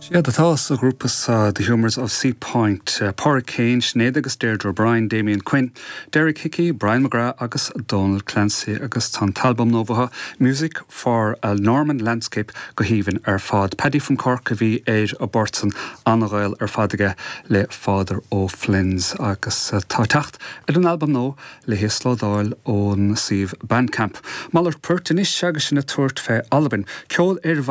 Séard atá sa ghrúpa seo, The Humours of Seapoint, Pádraig Kane, Sinéad agus Deirdre O'Brien, Damien Quinn, Derek Hickey, Brian McGrath agus Donal Clancy agus tá an t-albam nua uathu, Music for a Norman Landscape go haoibhinn ar fad. Paddy from Cork a bhí ar an bport san, an-ghaol ar fad aige le Father O'Flynn's agus tá teacht ar an albam nua le híoslódáil ón suíomh Bandcamp. Malairt poirt anois agus sinn ag tabhairt fé Albain. Ceol ar.